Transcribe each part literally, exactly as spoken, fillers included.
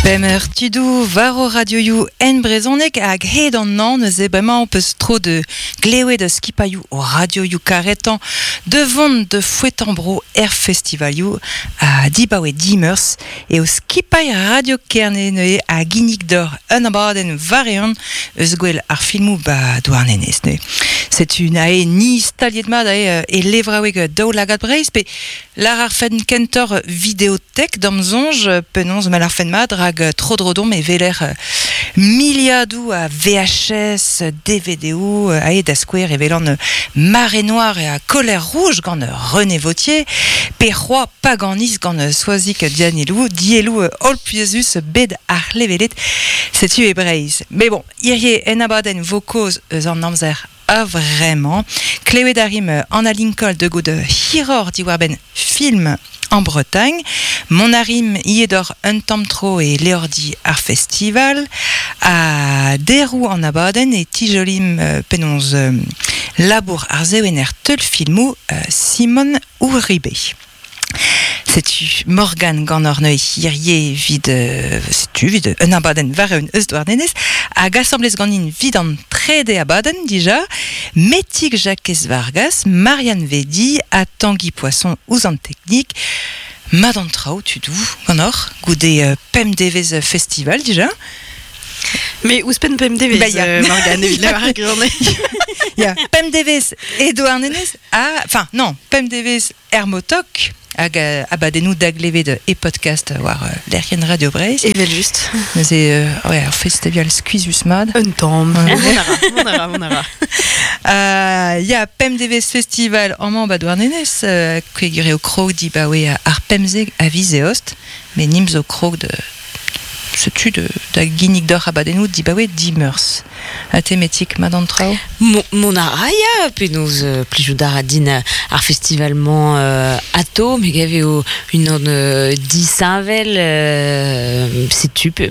Pemer tudou var o radioioù en brezhoneg hag hed an an neuze bremañ peus tro de glevet da skipailhoù o radioioù karetan de vont de fouetan-bro er festivalioù a dibaoe dimeurs e o skipailh radio Kerne neuze a ginnig d'or un abadenn vareon eus gwell ar filmoù ba Douarnenez neuze. Setu nae ni staliet mat ae e levraoueg daoulagad Breizh pe lar ar fenn kentor videotek d'am zonj penaos mal ar fenn mat rag tro-dro-dom e veler miliadoù a V H S, D V D-o, ae da skouer e velan Marée Noire e a Colère Rouge gant René Vautier, pe c'hoa Paganis gant Soazic Dianelou, dielou hol pouezus bed ar levelet, setu e Breizh. Mais bon, hirie en abadenn vo kaoz eus an amzer a vraiment. Klevet a rim Anna Lincoln de god hiror diwar-benn film en Bretagne. Mon arim iedor un tamm tro e leordi ar festival. A derou an abadenn e tijolim euh, penaos euh, labour ar zewener teul filmou euh, Simon Uribe. Setu Morgan gant ur neuze hirie vid, euh, setu vid un abadenn war un eus Douarnenez hag asamblez ganin vid an trede abadenn dija, Metig Jakez Vargas, Marianne Vedi ha Tanguy Poisson ouzh an teknik, mat an traoù tudou gant or, goude euh, pemp devez festival dija. Mais ouzhpenn pemp devez, Bah, ya. euh, Morgane, evit lavar ar gwirionez. Ya, pemp devez e Douarnenez, ha, enfin, non, pemp devez er motok, hag euh, abadennoù daglevet e podcast war euh, lec'hienn Radio Breizh. Evel just. Neuze, euh, ouais, ar festival skuizhus mat. Un tamm. Ouais. Mon ara, mon ara, mon ara. Euh, ya, pemp devez festival amañ ba Douarnenez, euh, kwegure o krog di baoe ar pemzeg a viz eost, met nim zo krog de setu de, da ginnig d'or abadennoù di baoe dimeurs. A thématique mat an traoù? Mon, mon ara, ya, penaos euh, plijout ar din ar festivalman euh, ato, me gave o une an euh, disheñvel, euh, setu, pe,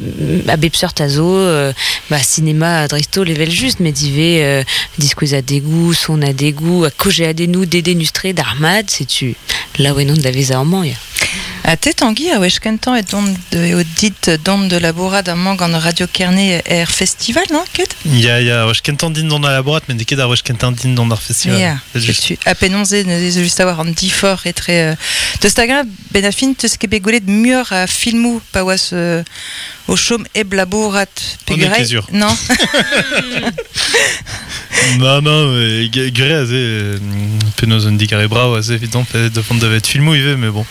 a bep seurt a zo, euh, ba, cinéma dreist-holl evel just, met ivez euh, diskouez a degoù, son a degoù, a koje a denou dedennus-tre d'ar mat, setu laouen on da vezañ amañ, ya. A te Tanguy, a wech kentañ e dont de, eo dit dont de labourat amañ gant Radio Kerne er festival, non, ket? Ya, ya, wech kentañ din dont da labourat, met n'eo ket ar wech kentañ din dont ar festival. Ya, C'est juste. setu. A penaos eo, neuze just a war an difor etre, euh, deus ta gain, ben a fin, teus ket bet gwelet muioc'h a filmoù pa oas, euh, o chom hep labourat On est peogwir ket sur. Non. Non, non, mais g-, gure aze, euh, penaos un digare brav aze, evidemment, pe de fond davet filmoù ivez, mais bon.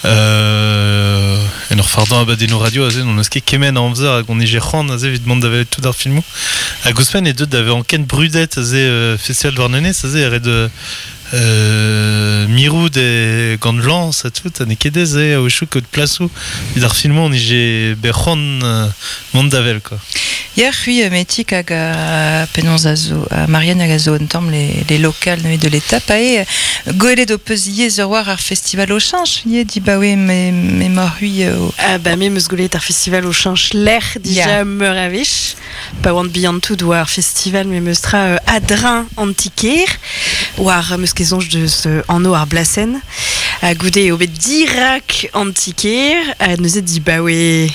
Euh, en ur fardañ abadennoù radio aze, n'on eus ket kement a amzer hag on ije c'hoant aze evit mont davet tout ar filmoù. Hag ouzhpenn e deut davet anken brudet aze, euh, festival Douarnenez aze, ret de, euh, mirout e gant lans ha tout, ha n'eo ket aes, eh, a-wechoù kaout plasoù evit ar filmoù on ije bet c'hoant, euh, mont davel, quoi. Ya, c'hwi, euh, Metig hag a penaos a zo, a Marianne hag a zo un tamm les, les locales neuze de l'étape, ae, gwelet o peus ivez ur war ar festival o cheñch, ivez di baoe me, me mor c'hwi, euh, o Ah bah, me meus gwelet ar festival o cheñch lec'h dija Ya. meur a wech. Pa oant bihan tout war ar festival me meus tra, euh, adrin antiker, war meus ket soñj deus, euh, anv ar blasenn. Ha goude eo bet dirak antiker, ha neuze di baoe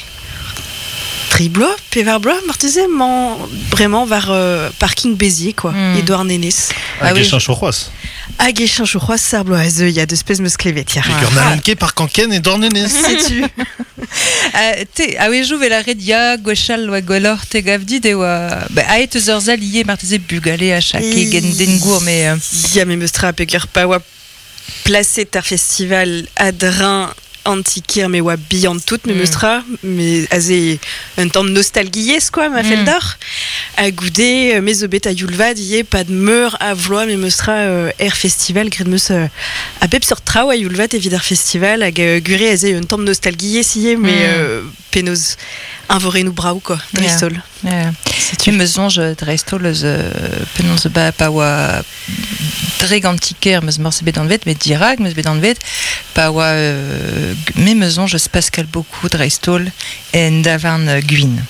tri bloaz, pevar bloaz, marteze, mañ bremañ war, euh, parking Béziers, quoi, Hmm. e Douarnenez. Ah Hag oui. e cheñch o c'hoazh. Hag e cheñch o c'hoazh ar bloaz, a zeu, ya, deus pezh meus klevet, ya. Hag ur n'allon ket par kanken e Douarnenez. Setu. Euh, te, a wejou vel ar red ya, gwechall oa gwelloc'h te gav dit e oa, ba, aet eus ur sal ivez marteze bugale a chake Et gen den gour, mais, euh, Ya, me meus tra peogwir pa oa plaset ar festival adrin antiker me oa bihan tout, me Mm. meus tra, me aze un tamm nostalgiezh, quoi, ma fell Mm. d'or. Ha goude, me zo bet a youlvad ivez, pad meur a vloaz, me meus tra, euh, er festival, graet meus, euh, a bep seurt traoù a youlvad evit ar festival, hag, euh, gure aze un tamm nostalgiezh ivez, mais, Mm. euh, penaos invorennoù brav, quoi, dreist-holl. Yeah. Setu. Me soñj dreist-holl eus, euh, penaos ba, pa oa dre antiker meus morse bet anvet, met dirak meus bet anvet, pa oa, euh, me meus soñj eus Pascal Beaucoup dreist-holl en davarn, euh, Gwin.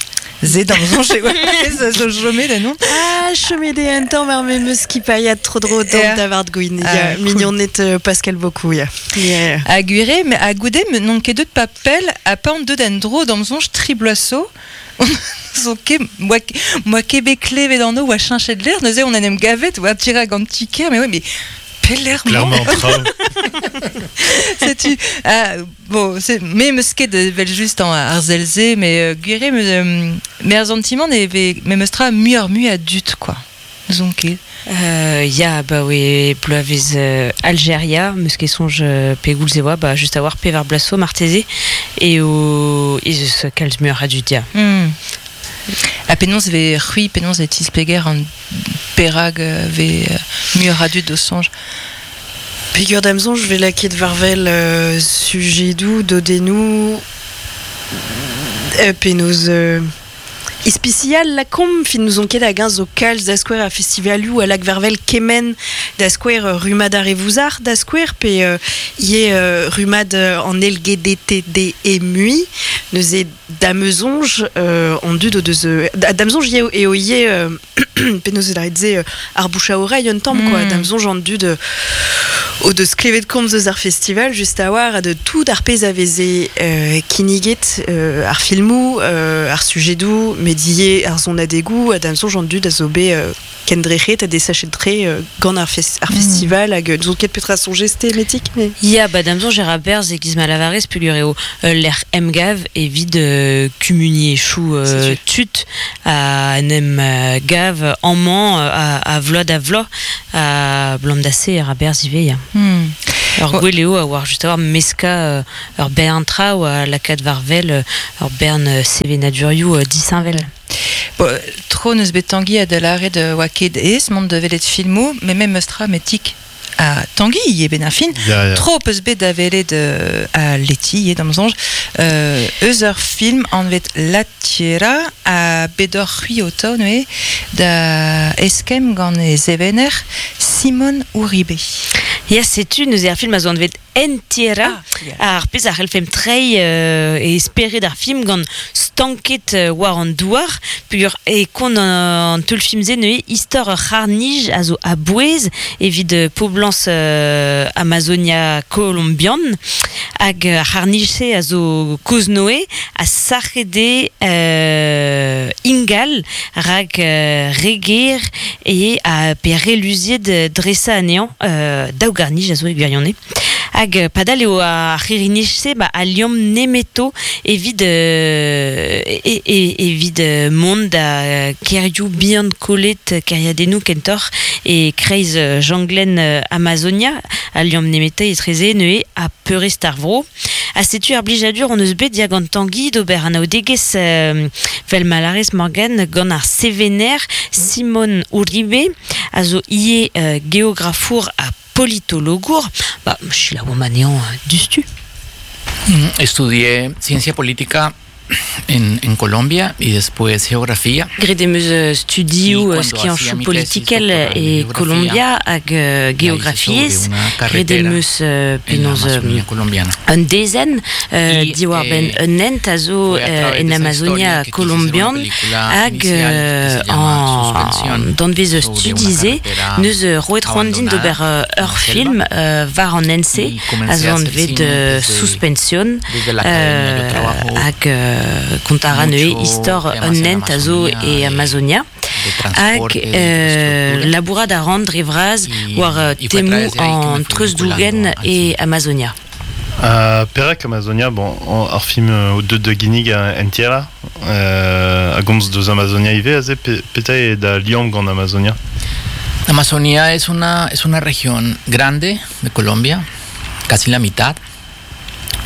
Ze d'am soñj eo a zo chomet da non. Ah, chomet eo un tamm ar memes skipailhad tro-dro d'an davart gwin. Ya, mignonnet Pascal Beaucoup, ya. Yeah. A gwire, mais a goude, n'on ket deut papel a pa an deut en dro d'am soñj tri bloaso. Zo ket, moa, moa ket bet klevet an o oa cheñchet l'air, neuze on en em gavet oa tirag an tiker, mais ouais, mais pelec'h. Clairement, traoù. Setu, ah, bon, c'est me meus ket vel just an ar zelze, mais euh, gwire, me, euh, me ar sentiment e ve me meus tra muioc'h mui a dut, quoi. N'eus ket. Euh, ya, ba oe bloavez euh, Algeria, meus ket soñj euh, pegoulz e oa, ba just a war pevar bloaz zo marteze, e o ez eus kalz muioc'h a dud, ya. Mm. Ha penaos ve c'hwi, penaos e tispleger an perag ve muioc'h a dud o soñj. Pegur d'am soñj ve lakaet war-wel euh, sujedoù, dodennoù, euh, penaos euh, ispisial lakomp, fin nous on ket hag zo kalz da skouer a festivalioù a lak war-wel kement da skouer euh, rumad ar e vouzar da skouer pe euh, ie euh, rumad euh, an L G D T D E mui neuze damezonj euh, an dud o deus euh, damezonj eo eo ie euh, penaos e lâret se euh, ar bouche à oreille un tamm mm. quoi damezonj an dud euh, o deus klevet komz eus ar festival just a war a de tout ar pezh a veze euh, kinniget euh, ar filmoù euh, ar sujedoù medie ar zonadegoù a damezonj an dud a zo bet euh, kendrec'het a desachet tre euh, gant ar, fes ar mm. festival hag n'ouzon ket petra soñjez te metik mais Ya, ba damezonj e ra berzh e giz ma lavarez peogwir eo euh, lec'h emgav evit euh, kumuniezhioù euh, tud a en em euh, gav amañ euh, a, a vloaz da vloaz a blam da se e ra berzh ivez, ya. Mm. Ur gwell eo a war just a war meska euh, ur bern traoù a lakaat war-wel euh, ur bern euh, sevenadurioù euh, disheñvel. Bon, tro neus bet Tanguy a da lâret oa ket aes mont da welet filmoù, mais même meus tra metik a Tanguy ivez ben ar fin. Ya, ya. Tro peus bet da welet euh, a Leti ivez d'am soñj euh, eus ur film anvet La Tierra a bet oc'h c'hwi o taou neuze da eskemm gant e sevener Simon Uribe. Ya, setu neuze ar film a zo anvet En Tierra. Ah, ya. Ar pezh a c'hellfemp treiñ euh, e spered ar film gant stanket euh, war an douar peogwir e kont an, an teul-film-se neuze istor ur c'harr-nij a zo a-bouez evit euh, poblañs euh, Amazonia kolombian hag ar c'harr-nij-se a zo kozh-Noe a sac'het eo euh, ingal rak euh, re ger e a pe re luziet dresañ anezhañ euh, daou garr-nij a zo e gwirionez. Hag padal eo ar c'hirri-nij-se ba al liamm nemeto evit euh, e, e, evit euh, mont da kêrioù bihan kollet kêriadennoù kentoc'h e kreiz euh, janglenn euh, Amazonia al liamm nemetañ etreze neuze ha peurrest ar vro. Ha setu ar blijadur hon eus bet ya gant Tanguy d'ober anaoudegezh euh, vel ma lârez Morgan gant ar sevener Simon Uribe a zo ivez euh, geografour ha politologour, ba, selaouomp anezhañ diouzhtu. Estudié ciencia política en, en Colombia y después geografía. Graet em eus studioù Y cuando hacía skianchoù mi tesis politikel doctoral en e geografía, Colombia hag euh, la hice sobre geografiezh. una Graet em carretera eus euh, en la penaos euh, Amazonía colombiana. un dezenn euh, Y, diwar-benn eh, un hent a zo fue a euh, través en de esa Amazonia historia que quise hacer una kolombian película hag inicial que euh, se llama an Suspensión danvez sobre una studi-se carretera neus euh, roet c'hoant din d'ober abandonada euh, en ur la selva. film euh, war an hent-se Y a comencé zo a hacer anvet cine euh, desde, Suspension desde la academia. Yo euh, trabajo hag euh, kont a ra neuze mucho istor temas un en hent a zo Amazonia, e de, Amazonia de hag transporte, de euh, infraestructura. labourat a ran dre vras Y, war euh, y fue a temoù través de ahí que an me fui vinculando treuzdougen al e cine. Amazonia. Uh, perak Amazonia, bon, an, ar film euh, deut da ginnig a En Tierra, euh, a gomz deus Amazonia ivez aze, pe, petra eo da liamm gant Amazonia? Amazonia es una, es una región grande de Colombia, casi la mitad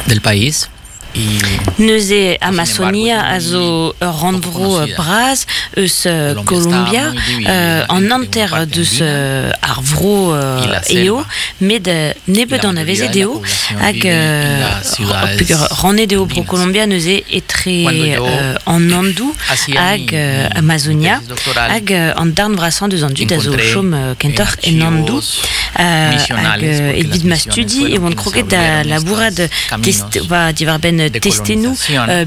del país. Y Neuze sin embargo Amazonia es a muy zo ur poco rannvro conocida. bras eus euh, Colombia está Colombia muy euh, dividida an entre una hanter parte deus andina euh, ar vro y euh, la eo selva. met euh, Y nebeut la anavezet mayoría de la eo población hag vive en euh, las ciudades peogwir rannet eo bro andinas. Colombia neuze etre Cuando yo euh, an Andoù hacía hag mi, euh, mi, mi Amazonia tesis doctoral, hag euh, an darn vrasañ deus an dud a zo encontré chom euh, en kentoc'h en Andoù archivos hag evit ma studi e oan kroget da labourat test va diwar-benn testennoù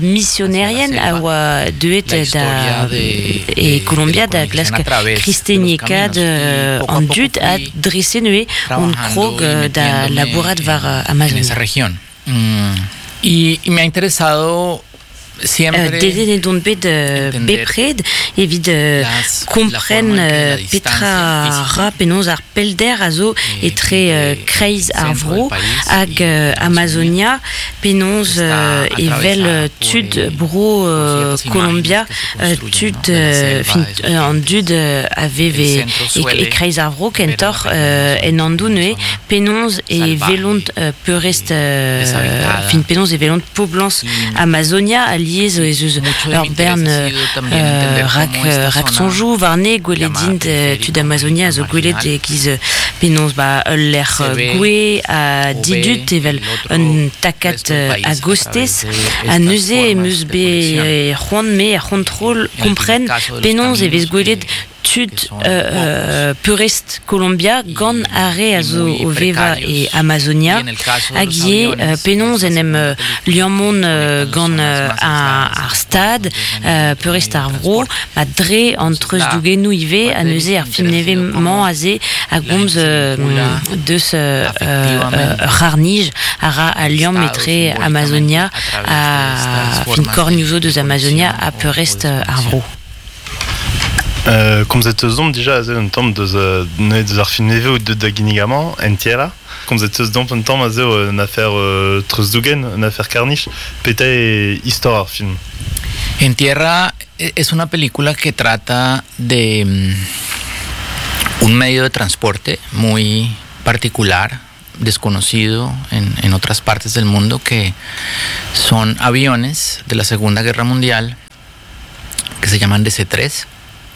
misionerien a oa deuet da e Colombia da glask kristeniekaat an dud a drese neuze on krog da labourat war Amazonia. Mm. Y, y me ha interesado siempre uh, dedennet on bet uh, bepred evit uh, kompren uh, petra ra penaos ar pellder a zo etre uh, kreiz ar vro hag uh, Amazonia penaos uh, evel tud bro uh, Colombia uh, tud uh, fin, uh, an dud uh, a veve e, e kreiz ar vro kentoc'h uh, en andoù neuze penaos e velont uh, peurrest uh, fin penaos e velont poblans Amazonia a liez ez eus ur bern euh, rak, rak sonjoù warne gwelet int tud Amazonia a zo gwelet e-giz penaos ba ul lec'h gwe a didut evel un takat a gostez a neuze em eus bet c'hoant me ar c'hontrol kompren penaos e vez gwelet tud euh, peurrest Colombia gant ar re a zo o veva e Amazonia hag ivez euh, penaos en em liammont euh, gant euh, ar stad euh, peurrest ar vro ma dre an treuzdougennoù ivez a neuze ar film nevez-mañ aze a gomz euh, deus euh, euh, c'harnij a ra al liamm etre Amazonia a fin kornioù zo deus Amazonia a peurrest ar vro. Euh, komzet eus domp dija aze un tamm deus euh, deus ar film nevez ou deus da ginnig-amañ, en Tierra. Komzet eus domp un tamm aze un affaire euh, treuzdougen, un affaire karnij, petra e istor ar film. En Tierra es una película que trata de mm, un medio de transporte muy particular, desconocido en, en otras partes del mundo, que son aviones de la Segunda Guerra Mundial que se llaman D C tres.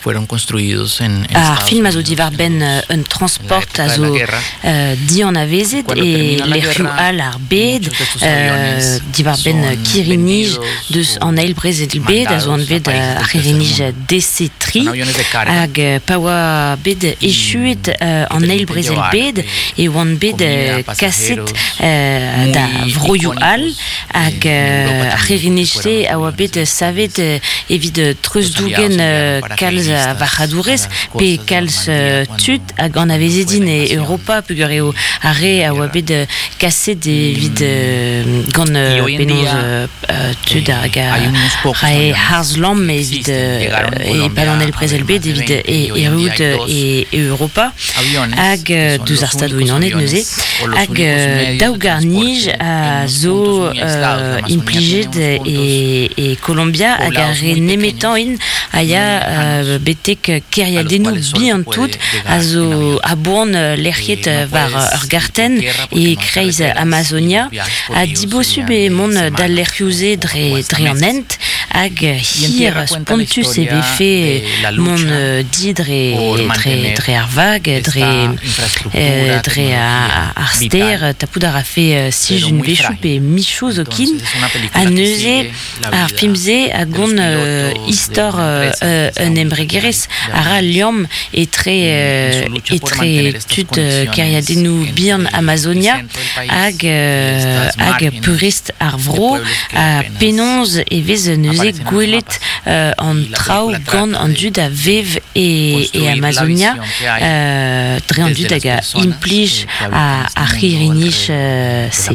Fueron construidos en, en Ar film a zo diwar-benn un transport a zo uh, dianavezet e lec'hioù all ar bed uh, diwar-benn kirri-nij deus an eil brezel bed a zo anvet ar c'hirri-nij D C tri hag pa oa bet echuet uh, an eil brezel bed e oant bet uh, kaset uh, da vroioù all hag uh, ar c'hirri-nij-se a oa bet savet uh, evit treuzdougen uh, kalz a varc'hadourez pe kalz uh, tud hag anavezet int e Europa peogwir eo ar re a oa bet uh, kaset evit uh, gant uh, penaos uh, tud hag a rae harz-lamm evit uh, e-pad an eil brezel bed evit e erruout e, e Europa hag uh, deus ar Stadoù-Unanet neuze hag uh, daou garnij a zo uh, implijet e, e Colombia hag ar re nemetañ int a ya uh, betek kêriadennoù bihan tout a zo a-boan lec'hiet war ur gartenn e kreiz Amazonia ha dibosub e mont d'al lec'hioù-se dre, dre an hent hag hir spontus e vefe mont di dre, dre, dre ar vag, dre, dre ar ster, tapout a rafe sij un vechoù pe michoù zokin ha neuze ar film-se a gont istor un embregerezh a ra liamm etre etre tud kêriadennoù bihan Amazonia hag hag peurrest ar vro ha penaos e vez neuze gwelet an traoù gant an dud a vev e, e Amazonia dre an dud hag a implij ar c'hirri-nij se.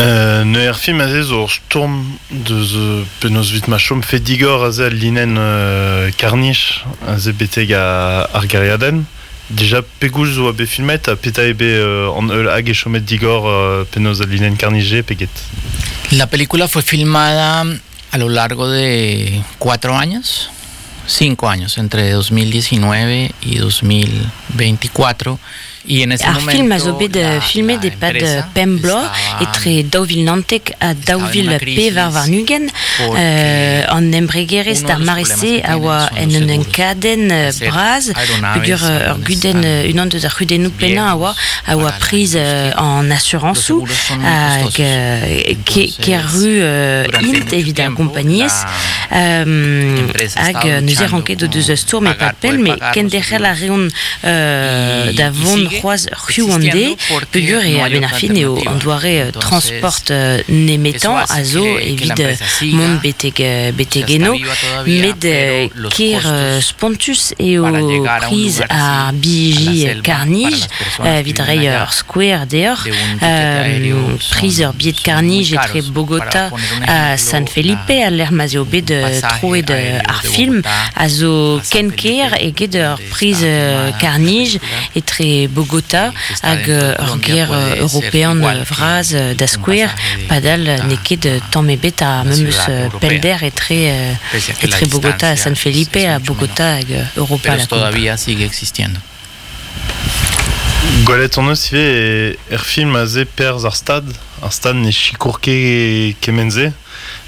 Euh, ne er film aze zo ur stourm deus euh, penaos vit ma chom fe digor aze al linenn euh, karnij aze betek ar gêriadenn. Dija pegoulz zo a bet filmet ha petra eo bet euh, an eul hag e chomet digor euh, penaos al linenn karnij peget. La película fue filmada a lo largo de cuatro años, cinco años, entre dos mil diecinueve y dos mil veinticuatro. Y en ese Ar momento, film a zo bet la, filmet la e-pad empresa pemp bloaz etre daou vil naontek ha daou vil pevar warn-ugent euh, an embregerezh d'ar mare-se a oa en un enkadenn bras peogwir ur gudenn unan deus ar c'hudennoù pennañ a oa a oa priz an asurañsoù hag kerru int evit ar gompagnez Euh, hag neuze ranket o deus stourm e pad pell, me kenderc'hel a reont euh, da vont c'hoaz c'hiou an de, peogwir e a-benn ar fin eo an doare transport euh, nemetan a zo evit mont betek, betek eno, met ker spontus eo priz ar biji karnij, evit reiñ ur skouer deoc'h, euh, priz ur billet karnij etre Bogota ha San Felipe, a lec'h ma'z eo bet troet ar film, a zo ken ker eget ur priz karnij etre Bogota hag ur ger european vraz da skouer, padal n'eo ket tamm ebet ar memes pellder etre, etre Bogota ha San Felipe ha Bogota hag Europa. Pero todavía sigue existiendo. Gwelet on eus ivez er film aze perzh ar stad, ar stad ne sikour ket kement-se.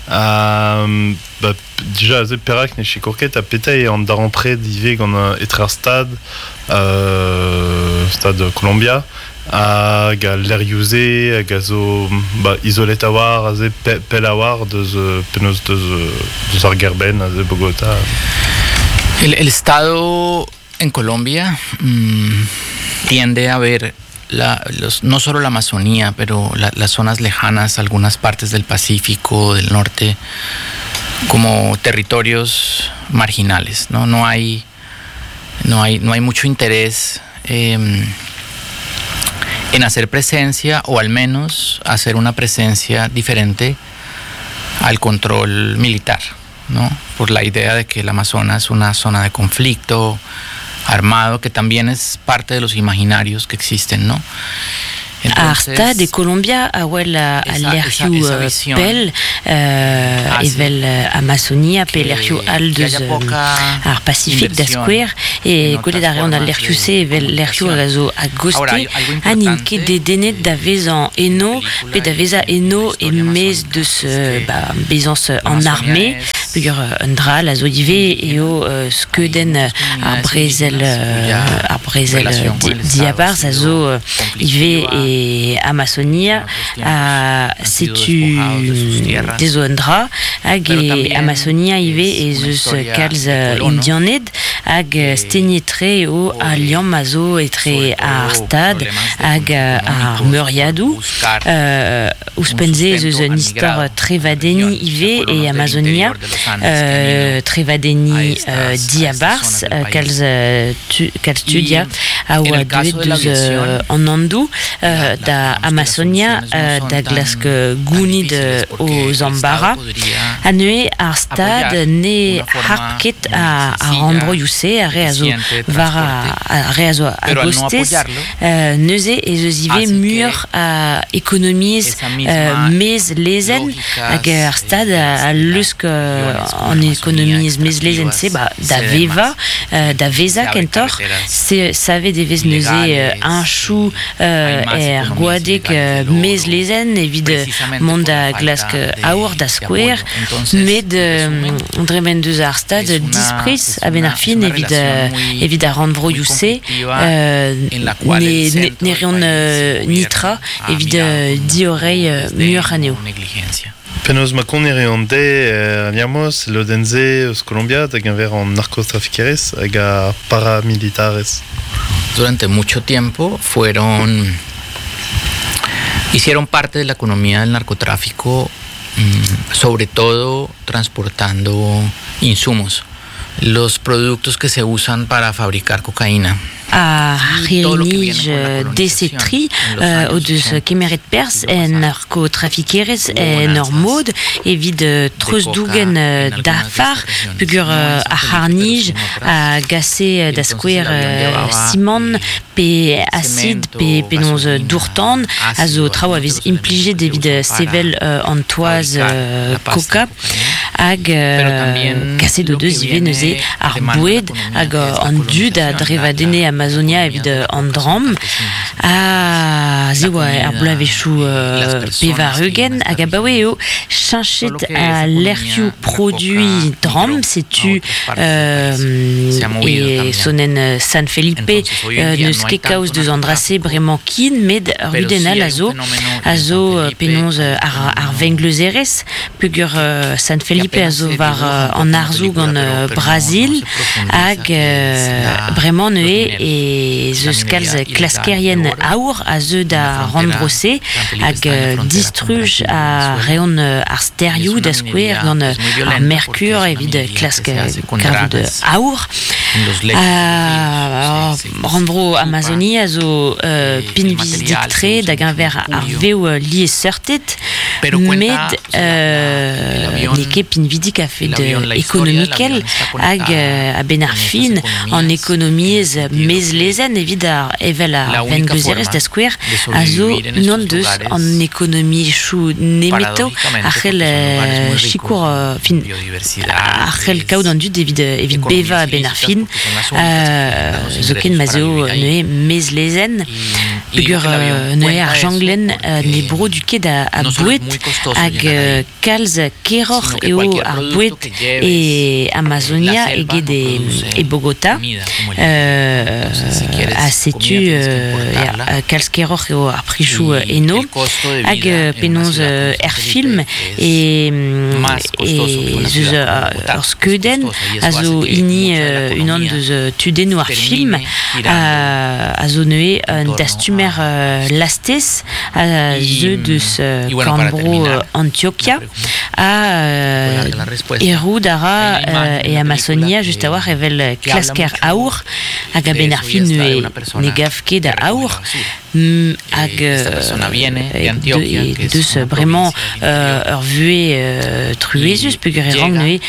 Um, ba, dija aze perak ne sikour ket ha petra eo an darempred ivez gant etre ar stad, euh, stad Colombia, hag al lec'hioù-se hag a zo ba, izolet a-war, aze pe, pell a-war deus, penaos deus, deus ar gêr-benn aze Bogota. El, el Estado en Colombia mmm, tiende a ver la, los, no solo la Amazonía, pero la, las zonas lejanas, algunas partes del Pacífico, del norte, como territorios marginales, ¿no? No hay, no hay, no hay mucho interés eh, en hacer presencia, o al menos hacer una presencia diferente al control militar, ¿no? Por la idea de que el Amazonas es una zona de conflicto armado, que también es parte de los imaginarios que existen, ¿no? Ar stad e Colombia a wel a lec'hioù pell euh, evel Amazonia pe lec'hioù all deus ar Pasifik da skouer, e gwelet a reont al lec'hioù-se evel lec'hioù hag a zo a-goste, ha n'int ket dedennet da vezañ eno pe da vezañ eno e-maez deus ba, bezañs an arme, peogwir un dra all a zo ivez eo skeudenn ar brezel ar brezel diabarzh a zo ivez e Amazonia, a setu dezo un dra, hag e Amazonia ivez ez eus kalz indianed, hag stegnet-tre eo al liamm a zo etre ar stad hag ar meuriadoù. Euh, ouzhpenn-se ez eus un istor trevadenniñ ivez e Amazonia, euh, trevadenniñ euh, diabarzh, kalz, tu, kalz tud ya a oa deuet deus euh, an Andoù, euh, da Amazonia, euh, da glask gounid o Zambara. Ha neuze ar stad ne harp ket a, a rannvroioù-se, ar re a zo war ar re a zo a-gostez, euh, neuze ez eus ivez muioc'h a ekonomiezh euh, mez lezenn, hag ar stad a, a lusk euh, an ekonomiezh mez lezenn-se ba, da vevañ, euh, da vezañ kentoc'h, se savet e vez neuze euh, un chou euh, er gwadeg euh, mez lezenn evit mont da glask aour da skouer, met euh, dremen deus ar stad dispriz a-benn ar fin evit, evit ar rannvroioù-se, euh, ne, ne, ne reont euh, nitra evit euh, diorreiñ euh, muioc'h anezho. Penaos ma konner eo an de er liamoz, lodenn-se eus Colombia da geñver an narcotrafikerezh hag ar paramilitarez. Durante mucho tiempo fueron hicieron parte de la economía del narcotráfico, mmm, sobre todo transportando insumos, los productos que se usan para fabricar cocaína. Ar c'hirri-nij D C tri o deus kemeret perzh en narkotrafikerezh en ur mod evit treuzdougen dafar, peogwir ar c'harr-nij a gase da skouer simant pe acid pe penaos dour-tan a zo traoù a vez implijet evit sevel an toaz coca, hag kaset o deus ivez neuze ar boued hag an dud a drevadenne Amazonia evit an dramm, a ze oa ar bloavezhioù pevar-ugent, hag abaoe eo cheñchet a lec'hioù produiñ dramm, setu euh, e sonenn San Felipe euh, n'eus ket kaoz deus an dra-se bremañ kin, met ur gudenn all a zo, a zo penaos ar, ar vengleuzerezh, peogwir San Felipe Felipe a zo war an arzoù gant Brazil hag bremañ neuze e zeus kalz klaskerien aour a zeu da rannvro-se hag distruj a reont ar sterioù da skouer gant ar merkur evit klask kavout aour. Rannvro Amazonia a zo pinvidik-tre da geñver ar vev liesseurted met n'eo ket pinvidik a-fet ekonomikel hag a-benn ar fin an ekonomiezh mezlezenn evit ar evel ar vengleuzerezh da skouer a zo unan deus an ekonomiezhioù nemeto a c'hell sikour fin a c'hell kaout an dud evit evit bevañ a-benn ar fin zoken ma z'eo neuze mezlezenn peogwir neuze ar janglenn ne brodu ket a boued hag kalz keroc'h eo ar boued e Amazonia eget e Bogota ha setu kalz keroc'h eo ar prizoù eno hag penaos er film e zeus ur skeudenn a zo hini unan deus tudennoù ar film a zo neuze un dastumer lastez a zeu deus korn-bro Antioquia a errout a ra e Amazonia just a-walc'h evel klasker aour hag a-benn ar fin ne gav ket a aour hag deus bremañ ur vuhez truezus peogwir e rank neuze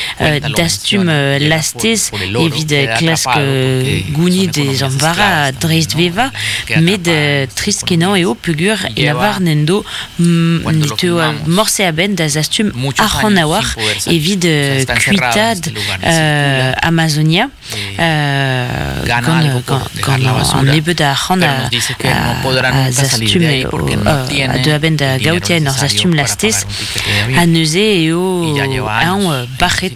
dastum lastez evit klask gounid e zamm-vara dreistvevañ met trist-kenañ eo peogwir e lavar n'en do ne teu morse a-benn da zastum arc'hant a-walc'h evit kuitaat Amazonia gant gant an nebeud a arc'hant a a zastum a deu a-benn da gaout en ur zastum lastez ha neuze eo eñ bac'het.